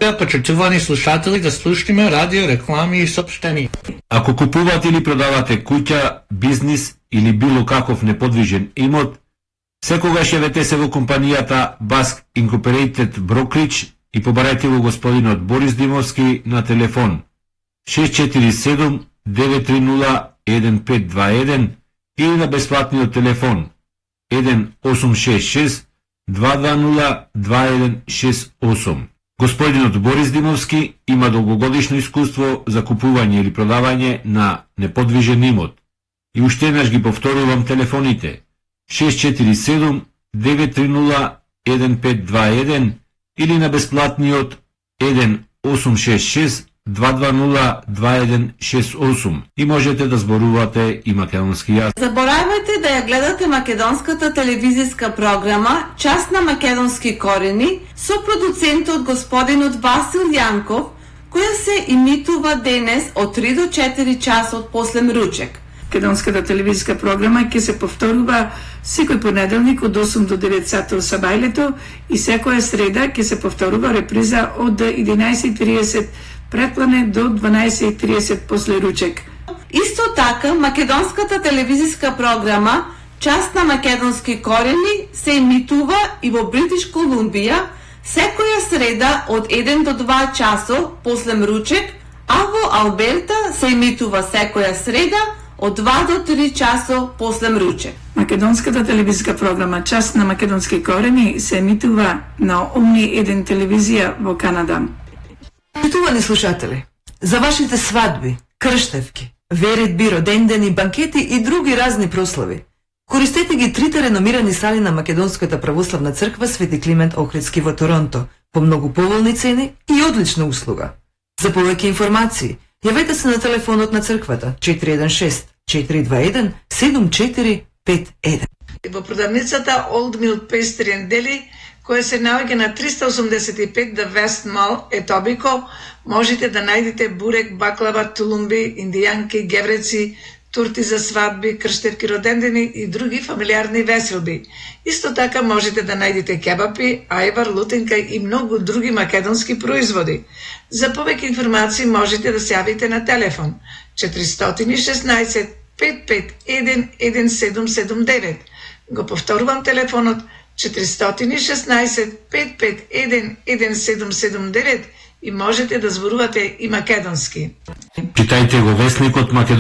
сега, почитувани слушатели, да слушнеме радио, реклами и сообщения. Ако купувате или продавате куќа, бизнис или било каков неподвижен имот, секогаш јавете се во компанијата Basque Incorporated Brokerage и побарајте го господинот Борис Димовски на телефон 647 930 1521 или на бесплатниот телефон 1866 220 2168. Господинот Борис Димовски има долгогодишно искуство за купување или продавање на неподвижен имот. И уште еднаш ги повторувам телефоните 647 930 1521 или на бесплатниот 1866 220 2168 и можете да зборувате и македонски јазик. Заборавајте да ја гледате македонската телевизиска програма Час на македонски корени со продуцентот господинот Васил Јанков, која се имитува денес од 3 до 4 часот после мручек. Македонската телевизиска програма ќе се повторува секој понеделник од 8 до 9 сатот сабајлето и секоја среда ќе се повторува реприза од 11:30 предплане до 12:30 после ручек. Исто така, македонската телевизиска програма Час на македонски корени се имитува и во Бритиш Колумбија секоја среда од 1 до 2 часо после мручек, а во Алберта се имитува секоја среда од 2 до 3 часо после мручек. Македонската телевизиска програма Час на македонски корени се емитува на Омни 1 телевизија во Канада. Почитувани слушатели, за вашите свадби, крштевки, веридби, родендени, банкети и други разни прослави, користете ги трите реномирани сали на Македонската православна црква Свети Климент Охридски во Торонто по многу поволни цени и одлична услуга. За повеќе информации, јавете се на телефонот на црквата 416 421 7451. Во продавницата Old Mill Pastry and Deli, која се наоѓа на 385 The West Mall, Етобико, можете да најдете бурек, баклава, тулумби, индијанки, гевреци, турти за свадби, крштевки, родендени и други фамилиарни веселби. Исто така можете да најдете кебапи, ајвар, лутинка и многу други македонски производи. За повеќе информации можете да се јавите на телефон 416 551 1779. Го повторувам телефонот 416 551 1779 и можете да зборувате и македонски. Читајте го весникот Македонија.